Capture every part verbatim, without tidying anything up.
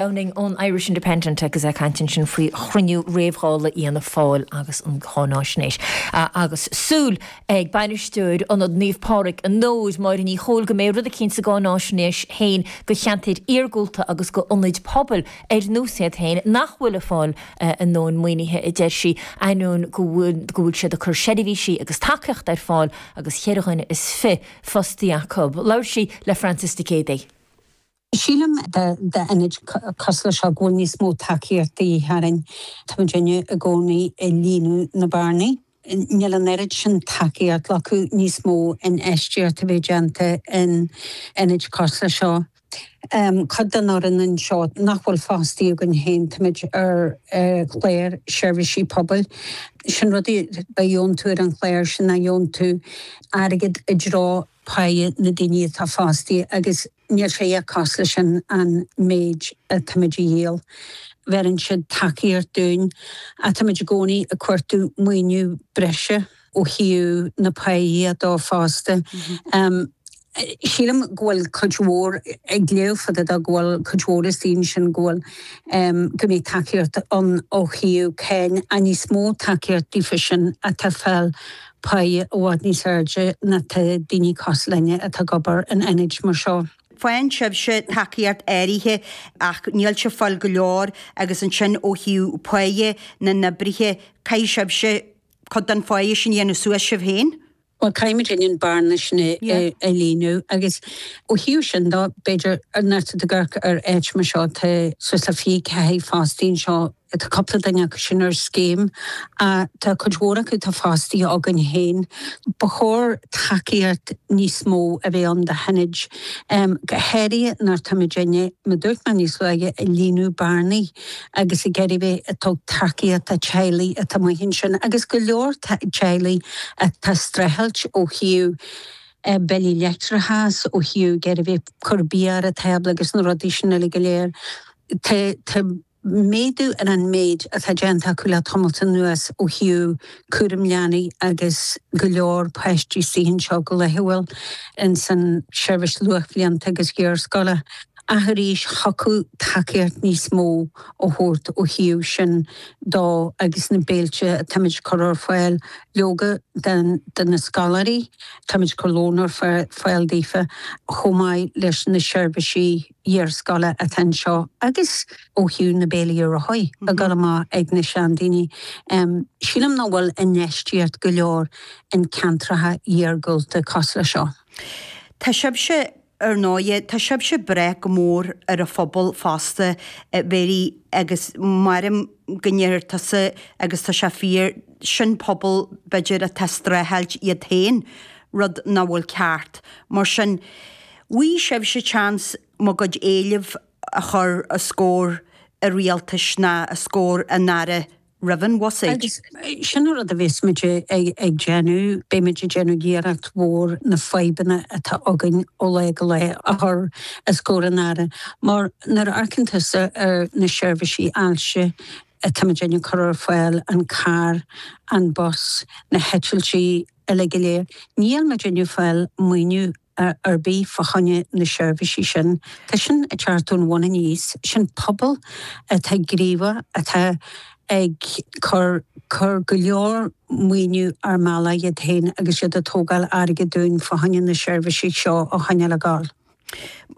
Downing ón Irish Independent agus ag caint ansin faoi chruinniú réamh-Dhála Fhianna Fáil agus an cháinaisnéis. Agus súil ag bainisteoir Ionad Naomh Pádraig an Nóid Máire Ní Chóil go mbeidh rud eicínt sa gcáinaisnéis féin go cheantair iargúlta agus go ionaid pobail ar nós iad féin nach bhfuil ag fáil a ndóthain maoinithe a deir sí ainneoin go bhfuil go bhfuil siad ag cur seirbhísí agus tacaíocht ar fáil agus cheithre dhuine is fiche fostaí acu. Labhair sí le Francis de Céadaí. Sílim d'ionaid cosúil seo go bhfuil níos mó tacaíocht de dhíth orainn. Tá muidinne i gcónaí ag líonadh na bearnaí. Níl an oiread sin tacaíocht acu níos mó infheistíocht a bheith déanta in ionaid cosúil seo. Um, Cuid den fhoireann anseo nach bhfuil fostaí againn féin táimid ar uh, chlár seirbhísí pobail. Sin rudaí a gheobhann tú ar an chlár sin a gheobhann tú airgead i dtreo páighe na daoine atá fostaí agus níl sé cosúil leis sin an méid atáimid a dhíol. Bheireann siad tacaíocht dúinn atáimid i gcónaí ag cuartú maoiniú breise ó thaobh na páighe dó fosta. Um, Sílim go bhfuil cuid mhór ag léamh fada go bhfuil cuid mhór is daoine sin go bhfuil um, go mbeidh tacaíocht an ó thaobh céin a níos mó tacaíocht daofa sin atá fáil páighe i bhfad níos airde ná tá daoine cosúil linne atá ag obair in ionaid mar seo. Faigheann sibhse tacaíocht áirithe ach níl sé fáil go leor agus ansin ó thaobh páighe na n-oibrithe caithfidh sibhse cuid den pháighe sin dhéanamh suas sibh féin. Well caithfimid an bearna sin a líonadh agus ó thaobh sin dó b'fhéidir ar na ar áit mar seo tá suas le fiche ceathair fostaí anseo tá cúpla duine acu sin ar scéim tá cuid mhór acu tá fostaí againn féin. Ba chóir tacaíocht níos mó a bheith ann do hionaid go háirithe nuair táimid mar dúirt mé níos luaithe ag líonadh bearnaí agus ag iarraidh bheith ag tabhairt tacaíocht do teaghlaigh atá amuigh ansin agus go leor teaghlaigh atá streachailt ó thaobh billí leictreachais ó thaobh ag bheith cur bia ar an tábla agus na rudaí sin uile go léir. Tá méadú ar an méid atá déanta acu le tamall anuas ó thaobh cúram leanaí agus go leor páistí anseo go laethúil in san seirbhís luathbhlianta agus iarscoile. Ach arís thiocfadh tacaíocht níos mó ó thabhairt ó thaobh sin dó agus na béilte táimid cur ar fáil leoga den de na scoláirí, táimid cur lón ar fáil daofa chomh maith leis na seirbhísí iarscoile atá anseo agus ó thaobh na béilí reatha a go amach ag na seandaoine. Um, Sílim nach bhfuil infheistíocht go leor in ceantracha iargúlta cosúil seo. Tá sibhse ar ndóigh tá sibhse breith go mór ar an phobal fosta Mary agus maram go ndéarfaidh tusa agus tá sé fíor sin pobal b'fhéidir atá streachailt iad féin rud nach bhfuil ceart. Mar sin bhí sibhse seans bhur gcuid éileamh a chur os comhair an rialtais ná os comhair an Aire roimh an bhuiséad. Agus sin rud a bhímid ag ag déanamh, beimid ag déanamh iarracht mhór na fadhbanna atá againn ó lá go lá a chur os comhair an Aire, mar nuair a amharcann tusa ar na seirbhísí ailse atáimid ag cur ar fáil an carr, an bus, na heitiltí uile go léir. Níl muid ag fáil maoiniú ar bith fá choinne na seirbhísí sin. Tá sin ag teacht ón bhun aníos, sin pobal atá gníomhach atá ag cur cur go leor maoiniú ar mbealach iad féin agus iad ag tógáil airgead dúinn fá choinne na seirbhísí seo a choinneáil ag gabháil.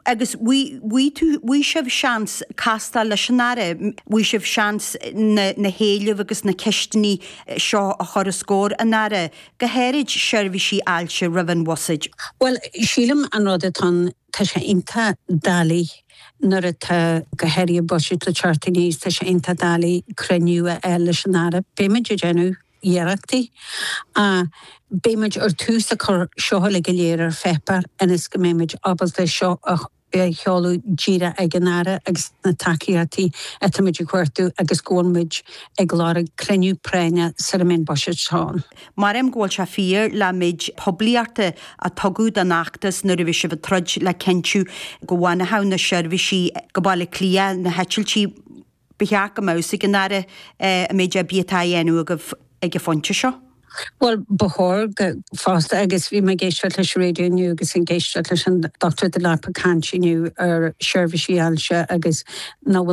Agus bhí tú bhí sibh seans castáil leis an Aire, bhí sibh seans na, na héilimh agus na ceisteanna seo a chur os comhair an Aire, go háirid seirbhísí ailse roimh an bhuiséad. Well, sílim an rud atá tá sé iontach doiligh nuair atá go háirithe buiséad le teacht aníos tá sé iontach doiligh cruinniú a fháil leis an Aire. Beimid ag déanamh iarrachtaí. Uh, Beimid ar tús a chur seo le go léir ar pháipéar ionas go mbeimid ábalta seo a sheoladh díreach ag an Aire agus na tacaíochtaí atáimid ag cuartú agus go bhfuil ag lorg cruinniú práinne sar a mbeidh an buiséad ann. Maram go bhfuil sé fíor le méid poiblíochta a tugadh don fheachtas nuair a bhí sibh ag troid le cinntiú go bhfanfadh na seirbhísí go Baile Átha Cliath na heitiltí ba cheart go mbeadh ag an Aire an méid oibre atá á dhéanamh agaibh ag an phointe seo. Well ba chóir go fosta agus bhí mé ag éisteacht leis an raidió inniu agus ag éisteacht leis an Dr. Delap ag caint inniu ar seirbhísí ailse agus nach bhfuil